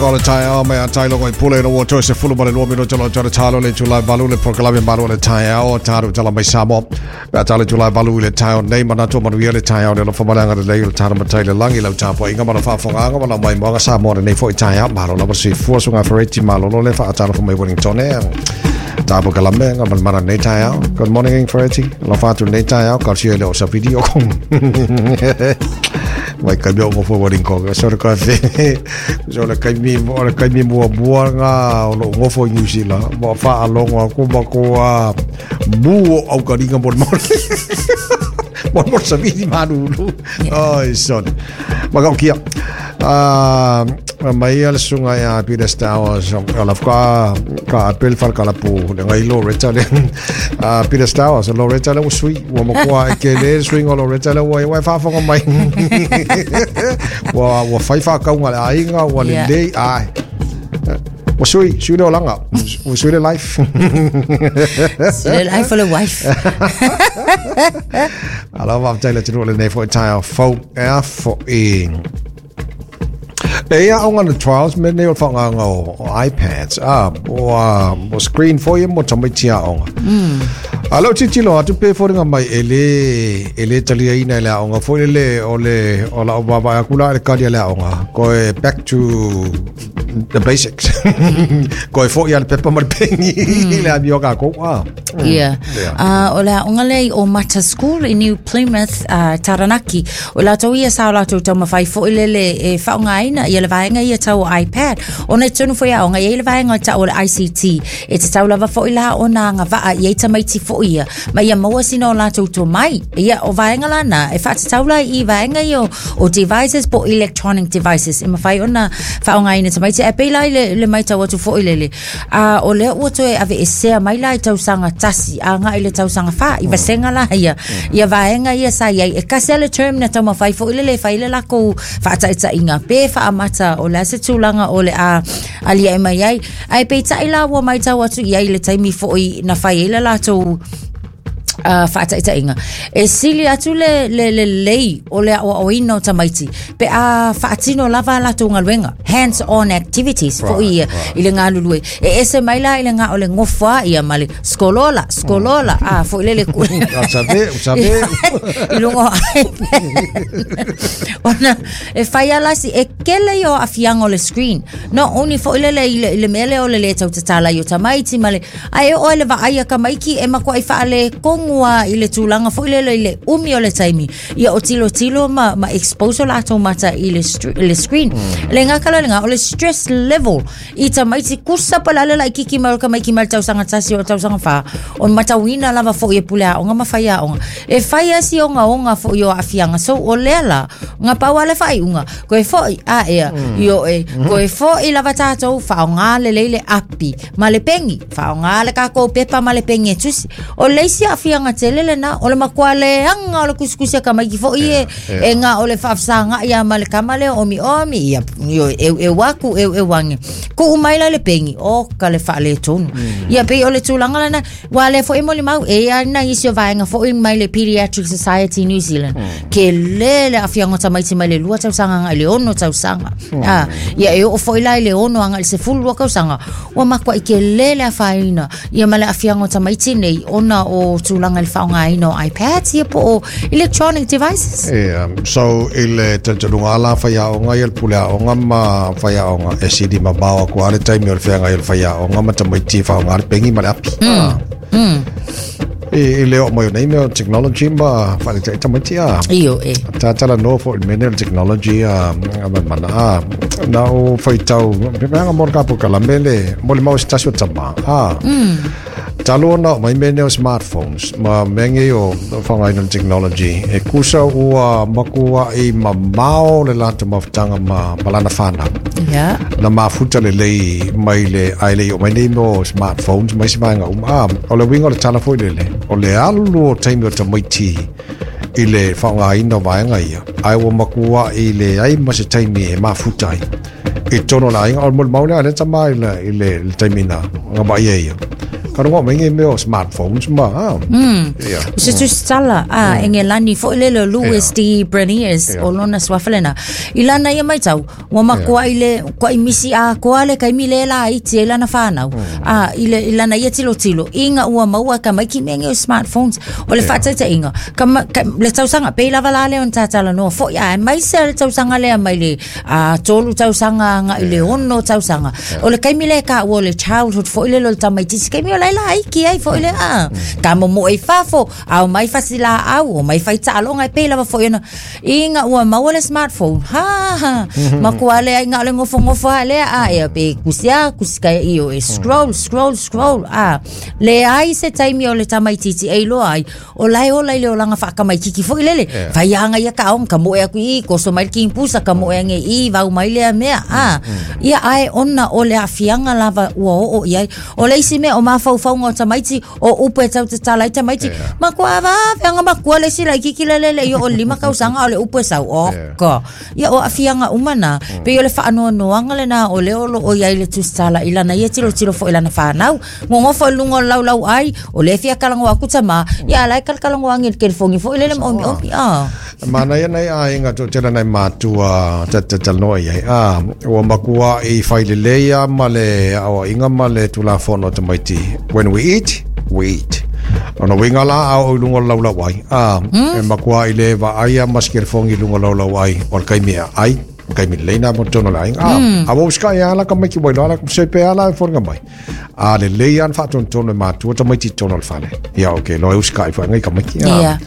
O le taeao mai a Tailogo i Pule ina ua toe 12 minute o le talo le itula e 8 le polokalame Malu o le Taeao, tatou tala mai Samoa. Pe a talo itula e 8 i le taeao nei, manatu o manuia le taeao le alofa ma le agalelei o le talo matai le lagi, lau tapuaiga ma lau faafofogaaga ma lau maimoaga Samoa lenei foi taeao. Malo lava soifua suga Fereti malolo le faatalofa mai Wellington e. Tapu kalame nga mana nei taeao. Good morning Fereti. Alofa atu nei taeao, kausia le o sa video kong. Mai kai mea o ngofo Wellington. So le kafe. So le kaimi, o le kaimi muamua ngā o lou ngofo i New Zealand. Ma whaalongo aku ma ko a mu o au karinga mo mo. Mo mo sa vidi manulu. Oi son. Ma kau kia. Ah, mai a le susuga ia Peter Stowers o la ka ka apel fal kala pu le ngai Loretta le Peter Stowers Loretta le ua sui ua matua e ke le suiga o Loretta le ua ua faafofoga mai ua ua fai faakauga le aiga ua lelei ai ua sui sui le olaga ua sui le life. Sui le life o le wife. Alo faafetai le atunuu lenei foi taeao fou e a fo'i. E ia aoga na trials me nei o le faaaogaina o iPads, a, o screen foi e mo tamaiti aoga. A leo tilotilo atu pe foliga mai e le taliaina e le aoga foi lele o le o lau vaavaai atu la i le kali a le aoga, koe back to the basics. Koe foi a le pepa ma le peni le amio kākou. Ah. Yeah. O le aoga lea i Omata School i New Plymouth, Taranaki. O latou ia sa o latou taumafai foi lele e faaaogaina ia le vaega ia tau o iPad. Ona i totonu foi aoga, e i ai le vaega o tau o le ICT. E tatau lava foi la ona agavaa i ai tamaiti foi ia, ma ia maua sina o latou tomai. Ia, o vaega la na, e faatatau la i vaega ia o devices po o electronic devices e mafai ona faaaogaina tamaiti. Ae pei la i le matau atu foi lele, a o lea ua toe aveesea mai la i tausaga 1 agai i le tausaga 4 i vasega la ia ia vaega ia sa i ai e kasi le term na taumafai foi lele e fai le lakou faataitaiga pe faamata o le a se tulaga o le a aliae mai ai ae peitai la ua matau atu i ai i le taimi foi na fai ai le latou faataitaiga e sili atu le lelei o le aoaoina o tamaiti pe a faatino lava a latou galuega hands on activities foi ia i le galulue e ese mai la i le ga o le gofo a ia ma le skolola skolola a foi lele ku Sabe, sabe. I luga o iPad ona e fai ala si e kele ia o aafiaga o le screen not only foi lele i le mea lea o le lē tautatala i o tamaiti ma le Ae oo i le vaai a tamaiti e matuai faaletonu lava i le tulaga foi lele i le umi o le taimi. Ia o tilotilo ma expose o latou mata i le screen. Le gata la i lena, o le stress level i tamaiti kusa po o le a le laitiiti mai o le tamaiti mai le tausaga 1 o le tausaga 4, o le matauina lava foi e pule aoga ma faiaoga. E fai lava si ogaoga foi o aafiaga. So o lea la, na pau lava le faaiuga, toe foi a ea, ioe, toe foi lava tatou faaaoga lelei le api ma le peni, faaaoga le tatou pepa ma le peni e tusi. O le isi aafiaga tele lena, o le matua leaga o le tusitusi a tamaiti foi e, e na o le faafesagai lava ma le tama lea omiomi, ia, ioe, eueu atu, eueu ane. Tuu mai la le peni, oka le faaletonu. Ia pei o le tulaga lena, aua o lea foi e molimau, e i ai nai isi o vaega foi mai le Pediatric Society New Zealand, tele le aafiaga o tamaiti mai le 2 tausaga agai i le 6 tausaga. Ah, ia e oo foi la i le 6 agai i le 12 tausaga, ua matuai tele le afaina ia ma le aafiaga o tamaiti nei ona o tulaga i le faaaogaina o iPads ia po o electronic devices. Yeah. So i le talitonuga la faiaoga ia le pule aoga ma faiaoga e sili mamao atu lava le taimi o le feagai o le faiaoga ma tamaiti e faaaoga le peni ma le api. I le oo mai o nei mea o technology ma faaletai tamaiti a. Ioe. Talanoa foi i le mea nei o le technology a ma mana a. Na ou faitau, pe mea mo le ka polokalame le molimau se tasi o tama. A. Talu ona oo mai mea nei o smartphones ma mea nei o faaaogaina o le technology e kusa ua matuai mamao le latou mafutaga ma lana fanau. Na mafuta lelei mai le ae le i oo mai nei mea o smartphones ma isi vaega uma. A, o le uiga o le tala foi lele, o le alu o taimi o tamaiti i le faaaogaina o vaega ia, ae ua matuai leai ma se taimi e mafuta ai i totonu o le aiga. O le molimau lea a lea tama i le taimi na vaaia ia. Ka rongo mai ngi mea o smartphones ma. Ia. O se tusitala a Engelani foi lele o Louis D. Breniers o lona suafa lena. I lana ia maitau, ua makuai le kuai misi atoa le taimi lea e laiti ai lana fanau. A i le i lana ia tilotilo, ina ua maua e tamaiti mea nei o smartphones. O le faataitaiga, ka ma, ka, le tausaga, pei lava la lea ona tatalanoa foi, aemaise le tausaga lea mai le 3 tausaga agai i le 6 tausaga. O le taimi lea e taua o le childhood foi lele o le tamaitiiti, taimi o la e laiti ai foi le a. Ka momoe i fafo, a omai fasilaau, omai fai taaloga, e pei lava foi ona ina ua maua le smartphone. Ha ha, matua leai na o le nofonofo lava lea, a ea pe kusi a, kusi kai i o e scroll, scroll, scroll, a. Leai se taimi o le tamaitiiti e iloa ai, o la e ola i le olaga faatamaititi foi lele. Fai aga ia taoga, ka moe atu i i, toso mai le kimpusa, ka moe ane i i, vau mai lea mea, a. Ia, ae ona o le aafiaga lava ua oo i ai. O le isi mea o mafaufauga o tamaiti, o upu e tau tatala ai tamaiti, matua vave aga matua le isi laitiiti lele e le i oo i le 5 tausaga a o le upu e sau, oka. Ia, o aafiaga uma na, pei o le faanoanoaga lena o lea o lo o i ai le tusitala i lana ia tilotilo foi i lana fanau. Nonofo i luga o le laulau ai, o lea e fia talanoa atu tamā, ia a la e talatalanoa ane i le telefoni foi lele ma omiomi, a. Manaia nai aiga toatele nai matua ta te talanoa i ai. A, ua matua i fai lelei a ma le aoaiga ma le Tulafono a tamaiti. When we eat, we eat. Ona uiga la a oo i luga o le laulau ai. A, e matua i le vaai a ma se telefoni i luga o le laulau ai o le taimi e ai. Taimi lelei na mo totonu o le aiga. A, a ua usikai a la tamaiti ua iloa la se pe a la e foliga mai. A lelei lava ona faatonutonu e matua tamaiti i totonu o le fale. Ia, okay, loa e usikai foi ngai tamaiti. Ia.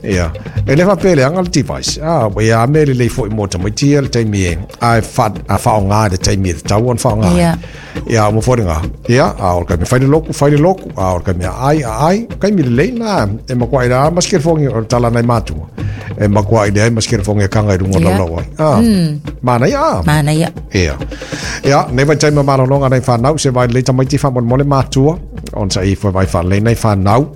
Ia. E le faapea e leaga le device. A, ia a mea lelei foi mo tamaiti ia le taimi e, a e fa, a faaaoga i le taimi e tatau ona faaaoga ai. Ia. Ia, mo foliga. Ia, a o le taimi e fai le loku, fai le loku. A o le taimi e aai, aai. Taimi lelei na e makuai la ma se telefoni o le tala nai matua. E makuai leai ma se telefoni e kanga i luga o Ia. laulau ai. A, manaia a. Manaia. Ia. Ia, nei vaitaimi o malologa nai whanau, se vai lelei tamaiti faamolemole matua, ona sa i foi vai whaalelei nai whanau.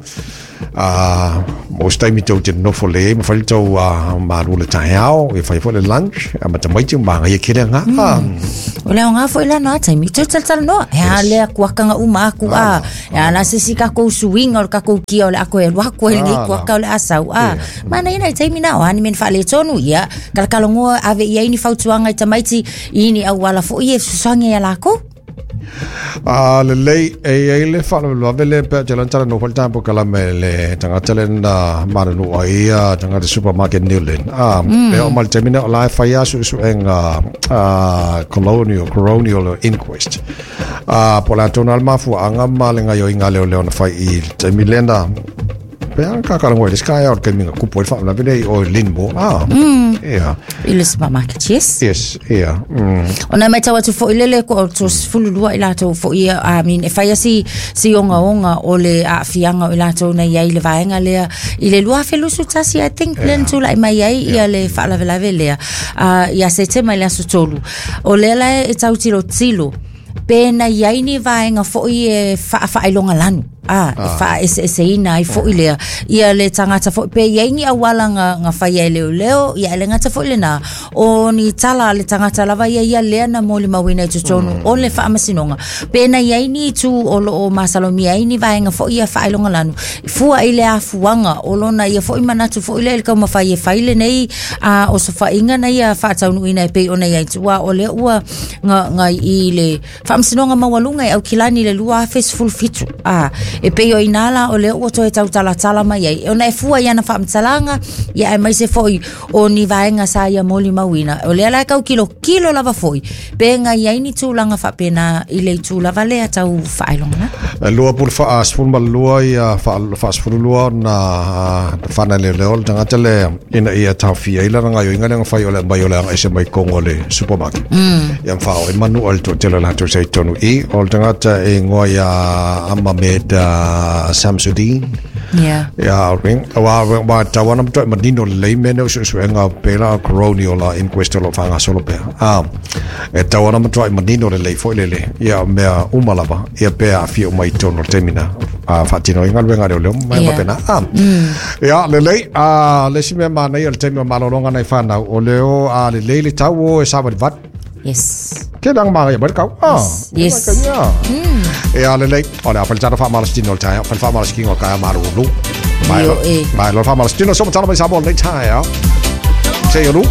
Mo se taimi tou te nofo lelei ai ma fai le tou malu o le taeao, ia fai foi le lunch, ma tamaiti ma magaia kele nga. O le aoga foi la na taimi, tau talatalanoa, e a lea kuakaga uma aku a, e a la se isi takou suiga o le takou kia o le a toe alu atu ai lenei kuaka o le a sau a. Manaia nai taimi na, o a ni mea na faaletonu, ia, talatalanoa ave i ai ni fautuaga i tamaiti i ni auala foi e fesoasoani ai iā lakou. A lelei, e i ai le faalavelave lea pea te lana talanoa foi le tatou polokalame i le tagata lea na manunuu ai ia tagata supermarket Newland. A, e oo mai le taimi lea o la e fai lava suesuega colonial, coronial inquest. A, po o le a tonu lava le mafuaaga ma le gaoioiga a leoleo na fai i le taimi lea na Pe a ka karango i le sky out kei minga kupu e whaalawe nei o Linmore. Ah, yeah. I le supermarket, yes. Yes, yeah. Ona e matau atu foi lele ko o to 12 i latou foi ia, I mean, e whai asi si ongaonga o le aafiaga o i latou nei ai le vaega lea i le 2021, I think, yeah. Le tula'i mai ai ia le faalavelave lea ia Setema i le aso 3. O lea la e tau tilotilo pe na i ai ni vaega foi e faafaailoga lanu a e faaeseeseina ai foi lea ia le tagata foi pe i ai ni auala ga fai ai leoleo ia e le gata foi lena o ni tala a le tagata lava ia ia lea na molimauina i totonu o le faamasinoga pe na i ai ni itu o loo masalomia ai ni vaega foi ia faailoga lanu fua i le afuaga o lona ia foi manatu foi lea i le taumafai e fai lenei a osofaiga na ia faataunuuina e pei ona i ai tua o lea ua ga i le Faamasinoga Maualuga i Aukilani i le 2017. A, e pei o inā la o lea ua toe tautalatala mai ai. Ona e fua i ana faamatalaga, ia aemaise foi o ni vaega sa ia molimauina. O lea la e tau kilokilo lava foi, pe ga i ai ni tulaga faapena i le itu lava lea tau faailogalanu. E lua pule 12 ia 12 ona whana leoleo le tagata lea ina ia taofia ai lana gaoioiga lea na fai o le aumai o le agaese mai Kongo le supermarket. Ia mawhao e manu o le toatele o latou sa i totonu i o le tagata e ingoa ia Amamed Samsudeen. Yeah. Ia, ring, wa, wa, tau ana matoa e manino lelei mea nei o suesuega pela o coronial inquest o lo o faagasolo pea. E tau ana matoa e manino lelei foi lele ia mea uma lava ia pe aafia uma i totonu o le taimi na faatino ai galuega a leoleo ma mea faapena. Ia, lelei, le isi mea manaia o le taimi o malologa nai fanau, o leo a lelei le tau o e savalivali. Yes. Ke lang ma ya ba kau. Ah. Yes. E a le le o le a faltana fa malastino ta fa fa malastino ka malu lu. Mai Io e. Mai lo fa malastino so tala mai sa mo le ta ya. Se yo lu.